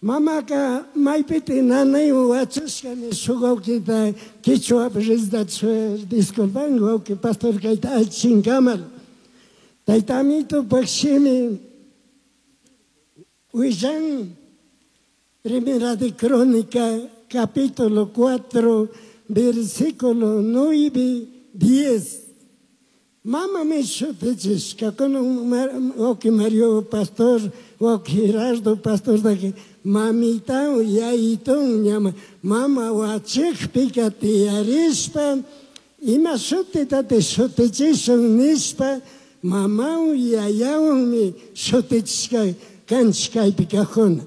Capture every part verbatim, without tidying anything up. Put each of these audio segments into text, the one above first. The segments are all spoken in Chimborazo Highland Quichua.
Mamaka maypiti nanaywan wachashka shuk wawkita kichwapi rizdachu disculpan wawki pastor kayta allichinkamal. Tayta Amitupak shimi willan Primera de Crónica capítulo cuatro versículo nueve diez. Mama mi shutichishka kunan wawki Mario pastor, wawki Gerardo pastor daki mamitawan yayitawan ñama mama wachikpika tiyarishpa ima shutitati shutichishun nishpa mamawan yayawanmi shutichishka kanchik kaypi kajuna.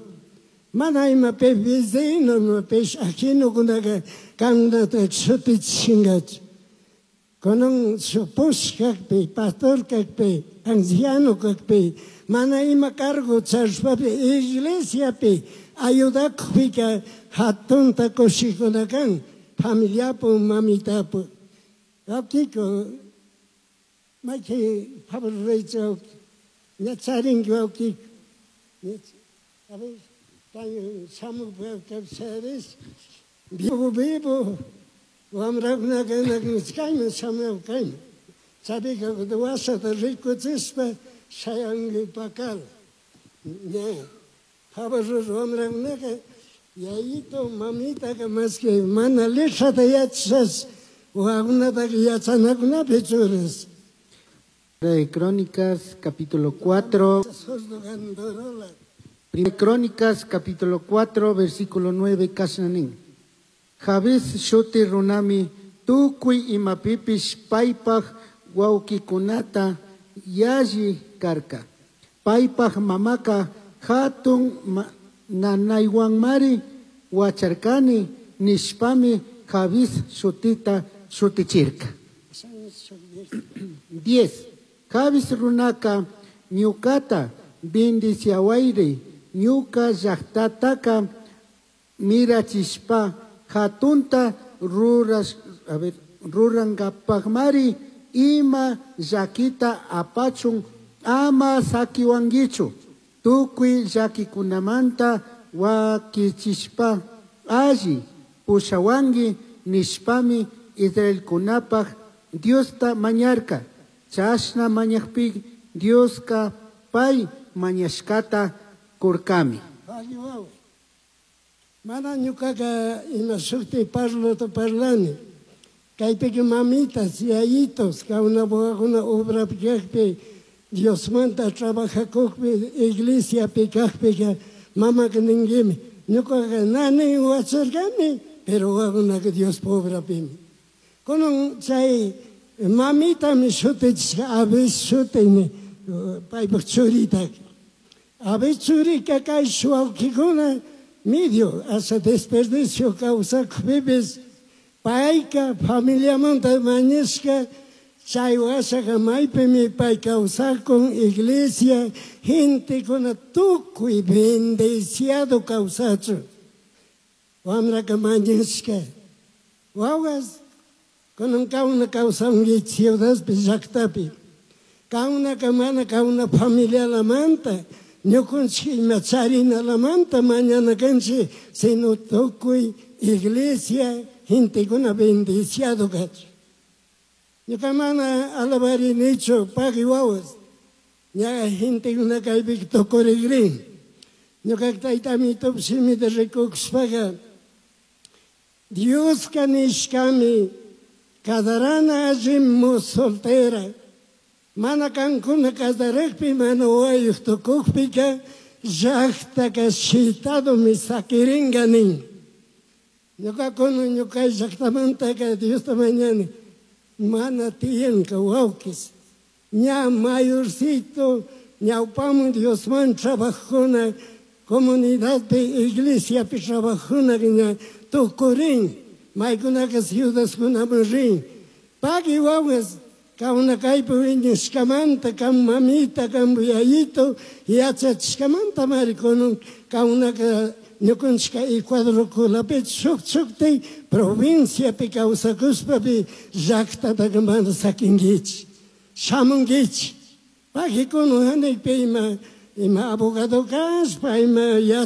Mana ima pi vecino, ima pish ajenokunaka kankunata shutichishinkachu. Kunan shuk push kakpi, pastor kakpi, anciano kakpi, mana ima cargo charishpapi iglesiapi ayudakpika hatunta kushikuna kan, familiapu, mamitapu. Wawkiko, mayki favor ruraycha wawki, ña charinki wawkiko. A ver, tayo shamuk sabes, vivo vivo, wamrakunaka kayman shamuy kayman. Chavika wasata rikuchishpa shayanki pakala. Ña, favor wamrakunaka yayito mamitaka maski mana letrata yachashash wawakunataka yachanakunapi churas. De Crónicas, capítulo cuatro. Primera Crónicas, capítulo cuatro, versículo nueve, Kashanin. Jabes shuti runami tukuy imapipish paypaj wawkikunata yalli karka. Paypaj mamaka hatun nanaywanmari wacharkani nishpami Jabes shutita shutichirka. Diez. Jabes runaka ñukata bendiciawayri ñuka llaktataka mirachishpa hatunta ruras, a ver, rurankapakmari ima llakita apachun ama sakiwankichu tukuy llakikunamanta wakichishpa alli pushawanki nishpami Israelkunapaj Diosta mañarka. Chashna mañakpi Dioska pay mañashkata kurkami. Mana ñukaka ima shukti parlota parlani. Kaypika mamitas, yayitos, kawna wawakuna obrapi kakpi, Diosmanta trabajakukpi, iglesiapi kakpika, mamaka ninkimi. Ñukaka nani wacharkani, pero wawakunaka Diospa obrapimi. Kunan chay mamitami shutichishka Abes shutini, paypak churitaka. Abes churika kay wawkikuna medio hasta desperdicio kawsakpipis payka familiamanta mañashka chay washaka maypimi pay kawsakun iglesia gentekuna tukuy bendeciado kawsachun. Wamraka mañashka wawas kunan kawna kawsanki ciudadpi llaktapi kawnaka mana kawna familialamanta ñukunchik ima charinalamanta mañana kanchik sino tukuy iglesia gentekuna bendeciado kachun. Ñuka mana alabarinichu pagui wawas ña gentekuna kaypi tukurikrin. Ñuka tayta Amitup shimita rikushpaka Dioska nishkami kadarana allimu soltera mana kankuna kasarakpi mana wawayuq tukukpika llaktaka shitadomi sakirinka nin. Ñuka kunan ñuka llaktamantaka Diosta mañani mana tiyanka wawkis. Ña mayorcito ñawpaman Diosman trabajuna comunidadpi iglesiapi trabajuna ña tukurin maykunaka ciudadkunaman rin. Pagui wawas kawna kaypi wiñashkamanta kan mamita kan yayito yachachishkamanta mari kunan kawnaka ñukanchika Ecuadorkunapi shuk shukti provinciapi kawsakushpapi llaktataka mana sakinkichik shamunkichik. Pagui kunan hanaypi ima ima abogado kashpa ima yachak